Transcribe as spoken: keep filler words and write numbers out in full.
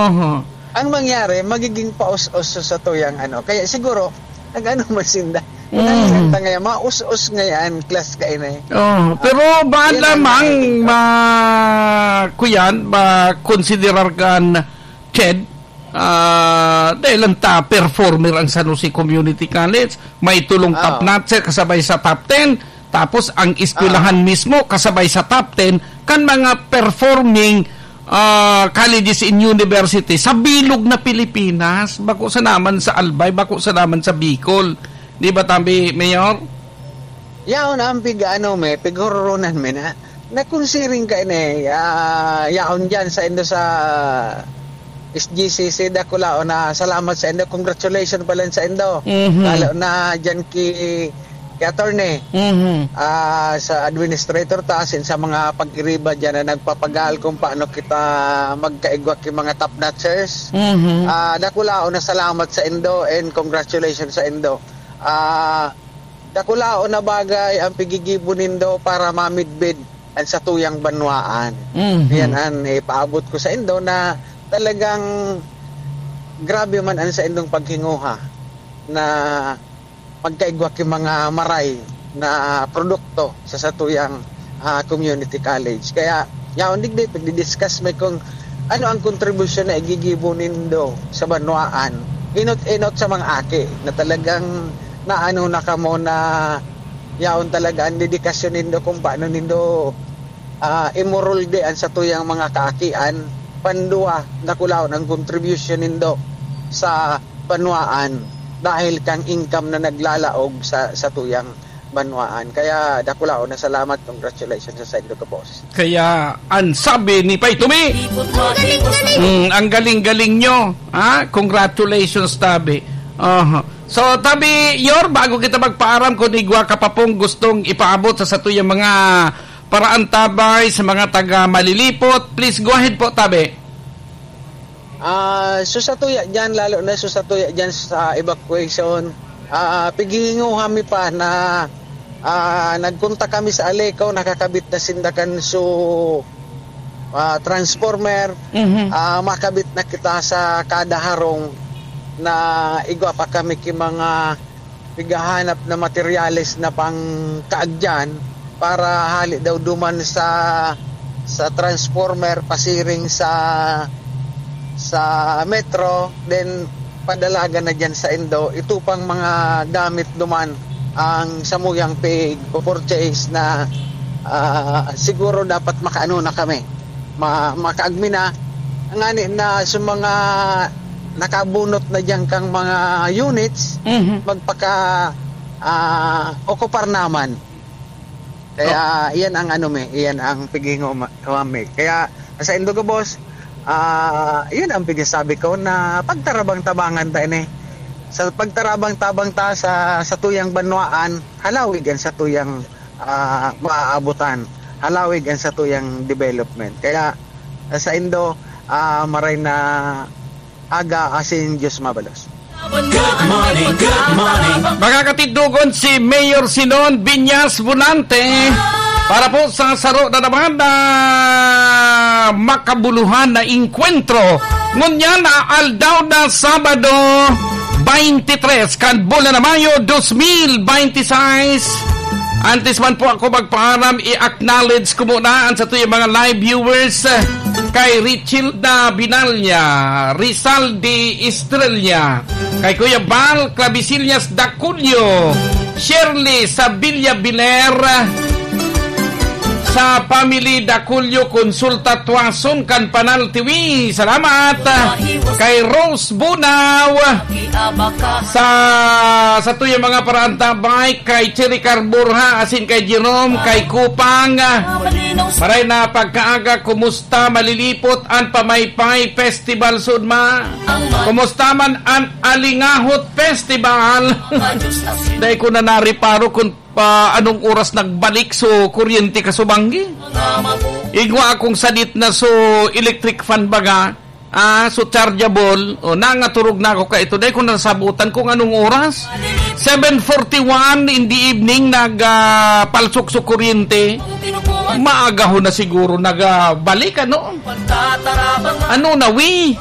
Oho. Ang mangyari, magiging paus-os sa satuyang ano. Kaya siguro, nag-ano man sinda. Mm. Nag-ano ta ngayon, maus-os ngayon, class ka inay. Oh, pero Ah, baan yun ang lamang nakikita. ma-, kuyan, makonsiderar kan Ched, ah, dahil ang top performer ang San Jose Community College, may tulong top Ah. notcher kasabay sa top ten, tapos ang eskwelahan Ah. mismo kasabay sa top ten kan mga performing, ah, colleges and university sa bilog na Pilipinas, bako sa naman sa Albay, bako sa naman sa Bicol. Di ba, tabi, Mayor? Yaon ang pig-ano mi, pighururunan mi na. Nakunsiring ka ini, ah, yaon diyan sa indo sa S G C C, dakulaon na salamat sa indo. Congratulations pala sa indo. Mhm. Lalo na diyan ki, ki attorney. Mhm. Ah, sa administrator ta, asin sa mga pag-iriba diyan na nagpapagaal kung paano kita magkaigwa ki mga top notchers. Mhm. Ah, dakulaon na salamat sa indo and congratulations sa indo. Ah, dakulaon na bagay ang pigigibo nindo para mamidbid an satuyang banwaan. Mhm. Yan an ipaabot ko sa indo na talagang grabe man an saindong paghinguha na magkaigwa ki mga maray na produkto sa satuyang, ah, community college. Kaya, yaon digdi, pagdi-discuss mi kung ano ang kontribusyon na igigibo nindo sa banwaan. Inot-inot sa mga aki na talagang naano na kamo na yaon talaga ang dedikasyon nindo kung paano nindo, ah, imorolde ang satuyang mga kaakian. Pandua, dakulaon ang kontribusyon nindo sa banwaan dahil kang income na naglalaog sa, satuyang banwaan. Kaya dakulaon na salamat, congratulations sa saindo ka, boss. Kaya ang sabi ni Pay Tumi, Ikot mo, ikot mo. Mm, ang galing-galing nyo, ha? Congratulations, tabi. Aha. So, tabi, Yor, bago kita magpaaram, kung igwa ka pa pong gustong ipaabot sa satuyang mga paraantabay, sa mga taga Malilipot, please go ahead po, tabi. Ah, so sa tuya dyan, lalo na so sa tuya dyan sa evacuation, ah, pighihinguha mi pa na, ah, nagkontak kami sa Aleco, nakakabit na sinda kan so, ah, transformer, Mhm. ah, makabit na kita sa kada harong na igwa pa kami ki mga pighahanap na materyales na pangkaagyan para hali daw duman sa, sa transformer pasiring sa, sa metro, then padalagan na dyan sa indo. Ito pang mga gamit duman ang samuyang pig-purchase na, ah, siguro dapat makaano na kami. Ma-, makaagmi na. Ngani na sa mga nakabunot na diyan kang mga units, Mhm. magpaka, ah, okupar naman. Kaya, Oh. iyan ang ano mi, iyan ang pighingo ma-, mi. Kaya, sa indo ka, boss, ah, iyan ang pigsasabi ko na pagtarabang-tabangan ta ini. Sa pagtarabang-tabang ta sa, sa tuyang banwaan, halawig ang sa tuyang ah, maaabutan, halawig ang satuyang development. Kaya, ah, sa indo, ah, maray na aga asin Diyos mabalos. Good morning, good morning. Makakatindog si Mayor Sinon Viñas Volante para po sa saro na naman na makabuluhan na engkwentro. Ngunyan na aldaw na Sabado, twenty-three kan bulan na Mayo, dos mil binte y seis. Antes man po ako magpaalam, i-acknowledge ko muna ang satuyang mga live viewers, eh, kay Richilda Binalya, Rizal de Estrella, kay Kuya Bal Clavisillas Daculio, Shirley Sabilla Biner, sa family Daculio Consulta Tuason kan Panal Tiwi. Salamat. Kay Rose Bunaw, sa, sa tuyang mga paraantabay, kay Cherry Carburha, asin kay Jerome, kay Kupang. Maray na pagkaaga, kumusta Malilipot an Pamaypay Festival, Sudma? Kumusta man an Alingahot Festival? Dai ko na nariparo kung pa anong oras nagbalik so kuryente ka subanggi. Igwa akong sadit na so electric fan baga, ah, so chargeable, o nangaturog na ako ka ito, dai ko nasabutan kung anong oras. Seven forty-one in the evening, nag, ah, palsok so kuryente. Maagahon na siguro nagbalik, ano? Ano na, wi?